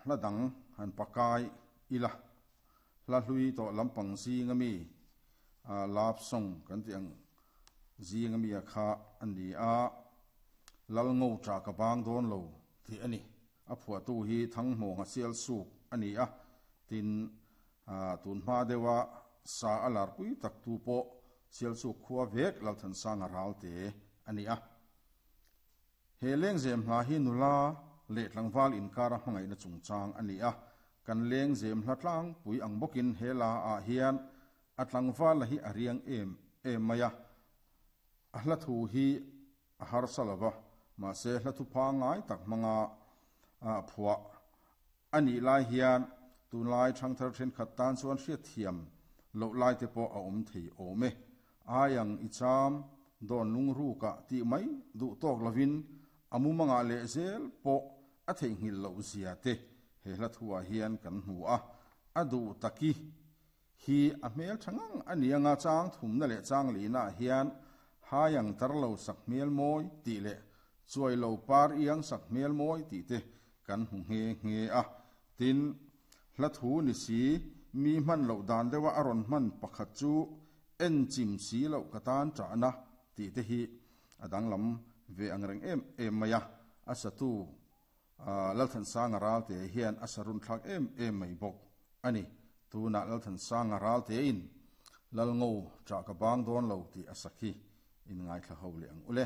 Hla dang han pakai ila, hla hlui tawh lampang zinga mi love song kan tih ang zinga mi a kha a ni a, Lal ngo ṭah ka bang dawn lo tih a ni. A phuahtu hi Thanghmawnga Sialsuk a ni a, tin tun hma deuha sa a larpui tak tu pawh Sialsuk khua vek Lalthansanga Ralte a ni a. He lengzem hla hi nula leh tlangval inkara hmangaihna chungchang a ni a, kan lengzem hla tlangpui ang bawkin he la ah hian a tlangval la hi a riang em em mai a, a hla thu hi a harsa lo va, mahse hla thu pangngai tak hmanga phuah A nih lai hian tunlai thangthar thenkhat tan chuan hriatthiam loh lai te pawh a awm thei awm e. Ai ang i cham dawn lungrukah tih mai duh tawk lovin a mumangah leh zel pawh a theihnghilh loh zia te he hla thuah hian kan hmu a. A duh taki hi a hmel tha ngang a ni anga chang thumna leh chang lihnaah hian hai ang tar lo sak hmel mawi tih leh chuai lo par iang sak hmel mawi tih te kan hmu nghe nghe a. Tin, hla thu ni si, mi hman loh dan deuha a rawn hman pakhat chu en chim si loh ka tan ṭahna tih te hi a danglam ve ang reng em em mai a, a satu Lalthansanga Ralte hian a sa runthlak em em mai bawk a ni. Tunah Lalthansanga Raltein Lalngo ṭah ka bang dawn lo tih a sa khi in ngaithla ho leh ang u le.